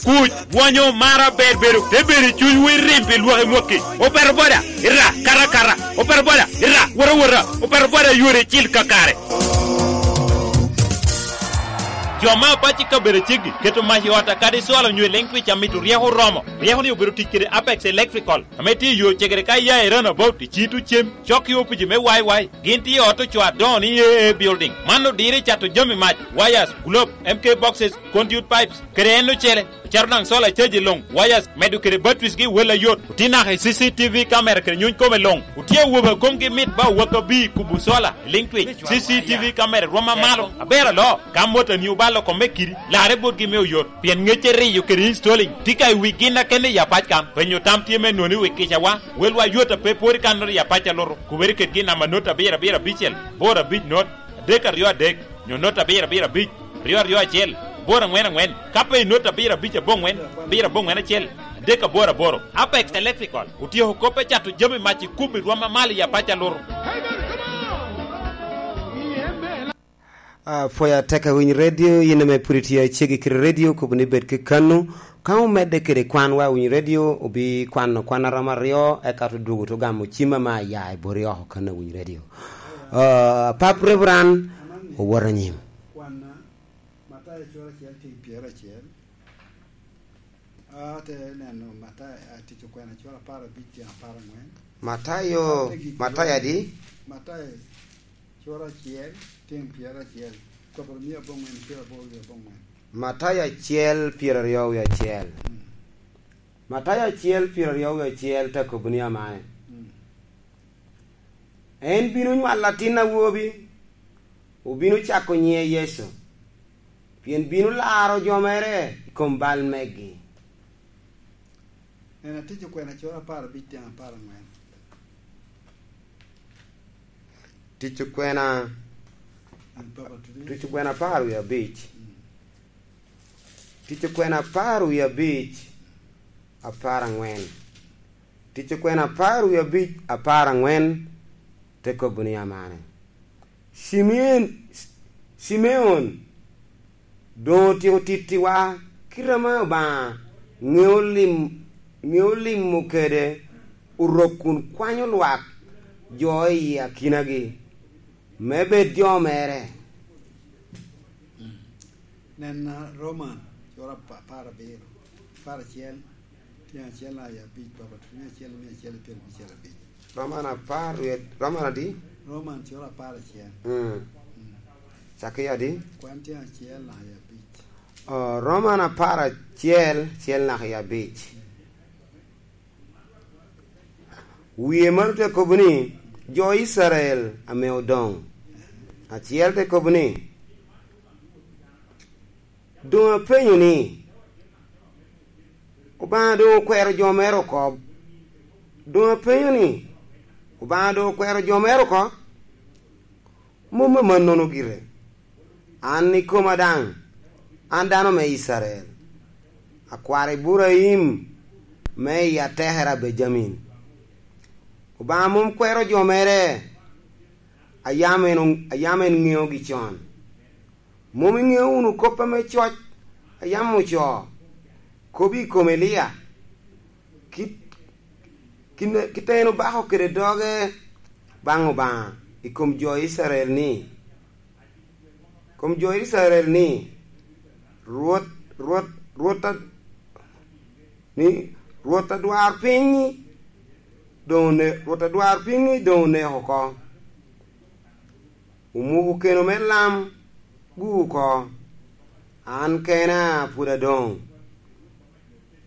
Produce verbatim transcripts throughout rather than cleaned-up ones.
Kuc, bwonyo, mar aber bedo, te bedo i cunywu i rim pi lwak i mwakki. Opeto boda, ira, kata kata. Opeto boda, ira, wota wota. Opeto boda yore icil kakare. Jo ma apac i kabedo aceggi, keto mac i ot a kadi cwalo onyo i leŋ twic amito ryeko oromo. Ryeko ni obedo tic kede Apex Electrical, ame tye i yo cegere ka iya i Runabout, i Citu Cem, cok i opici me Y Y. Gin tye i ot ocoo adoŋo ni A A Building. Man odiro i cato jami mac, wires, globe, M K boxes, conduit pipes, kede en ocele. Ocero daŋ sola caji luŋ, wires, medo kede batteries gi wel ayot. Otye naka i C C T V camera kede nyuny kome luŋ. Otye awobe a komgi mit ba owak abir kubo sola, liŋ twic. C C T V camera rwom amalo, aber aloo. Ka motoni obalo kome kidi, larre botgi me oyot. Pien ŋecce riyo kede installing tye ka i wi gin akene i apac kan. Penyo tam tye me nwoŋo i wi kicawa. Welwa yot a pe pwod i kannoro i apac a lutu. Kubere kedgi i namba not abiro abiro abicel, boro abic not, adek aryo adek, nyo not abiro abiro abic, aryo aryo acel, boro aŋwen aŋwen. Ka pe i not abiro abic aboŋwen, abiro aboŋwen acel, adek aboro aboro. Apex Electrical otyeko kop me cato jami mac i kubbi rwom amalo i apac a lutu. Apwoyo atek awiny redio, in ame pwod itye aceggi kede redio, kobo ni bed kekanu. Ka omedde kede kwanwa awiny redio, obikwano kwan a romo aryo, eka odwogo te gamo cim ame aya i boti oko kan awiny redio. Ah, Pap Reverend, owoto anyim. Kwanna, Matayo cura acel, tyeng pyeracel. Ate neno Matayo, a, Tic Okwena cura apar abic, tyeng apar aŋwen. Matayo, Ate gik Matayo adi? Matayo cura acel, tyeng pyeracel, kop mia aboŋwen, pyeraboro wie aboŋwen. Matayo acel, pyeraryo wie acel. Mm. Matayo acel, pyeraryo wie acel te kobo ni amae. Mm. En bino nywalo atin awobi, obino cako nyiŋe Yecu, pien bino laro jo mere i kom bal megi. En a Tic Okwena cura apar abic, tyeng apar aŋwen. Tic Okwena, An Papa Tude. Tic Okwena apar wie abic. Mm. Tic Okwena apar wie abic, apar aŋwen. Tic Okwena apar wie abic, apar aŋwen, te kobo ni amane. Cimeon, Cimeon, doŋ otyeko tittiwa kite ame Obaŋa ŋeo lim-, ŋeo limo kede Orok kun kwanyo lwak jo i akinagi, me bed jo mere. Nen, a, Roman, cura apa-, apar abiro, apar acel, tyen acel naka i abic, Papa, tyen acel, mia acel, pyerabicel abic. Roman apar, wie-, Roman adi? Roman cura apar acel. Mm. Mm. Cakki adi? Kwan tyen acel naka i abic. Oh, Roman apar acel, acel naka i abic. Mm. Wie mano te kobo ni, jo Icrael ame odoŋ. Acel te kobo ni, "Doŋ apenyo ni, Obaŋa doŋ okwero jo mere oko? Doŋ apenyo ni, Obaŋa doŋ okwero jo mere oko?" Mom amannono gire. An ikoma daŋ, an dano me Icrael, akwar Iburaim me i atekere a Bejamin. Obaŋa mom kwero jo mere a yam en o-, a yam en ŋeogi con. Mom iŋeo wunu kop ame coc a yam ocoo, kop i kom Elia? Kit, kit, kit a en obako kede doge baŋ Obaŋa i kom jo Icrael ni, kom jo Icrael ni, "Rwot, Rwot, Rwot a-, ni, Rwot adwarpiny doŋ one-, Rwot adwarpiny doŋ oneko oko. Omuko keno me lam gu oko. An kena pwod adoŋ.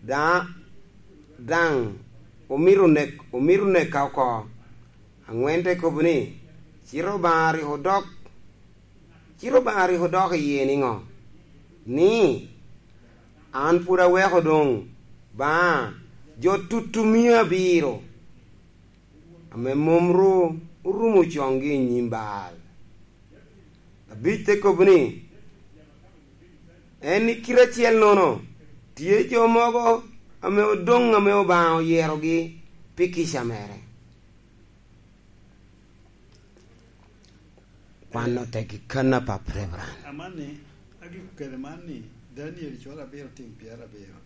Da-, daŋ omito nek-, omito neka oko." Aŋwen te kobo ni, "Cite Obaŋa rik odok, cite Obaŋa rik odok iye niŋo? Ni, 'An pwod aweko doŋ baŋa jo tutumia abiro, ame mom ru orumo coŋgi i nyim Baal.'" Abic te kobo ni, "En i kite acel-nono, tye jo mogo ame odoŋ ame Obaŋa oyerogi pi kica mere." Kwan otek i kanna, Pap Reverend. Amanni, agiko kede man ni, Daniel cura abiro, tyen pyerabiro.